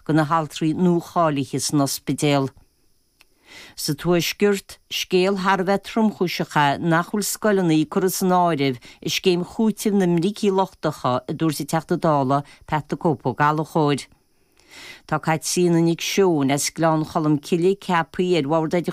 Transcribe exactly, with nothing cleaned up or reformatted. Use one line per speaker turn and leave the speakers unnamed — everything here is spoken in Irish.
do na haltraí nuacháilithe san ospidéal. Sa tuaisceart, scéal thar a bheith tromchúiseach é nach bhfuil scoileanna curtha san áireamh i scéim chúitimh na mbricí lochtacha a dúirt an Teachta Dála Pat the Cope Ó Gallchóir. Tá Caitríona Nic Seoin as Gleann Cholm Cille ceaptha ar Bhord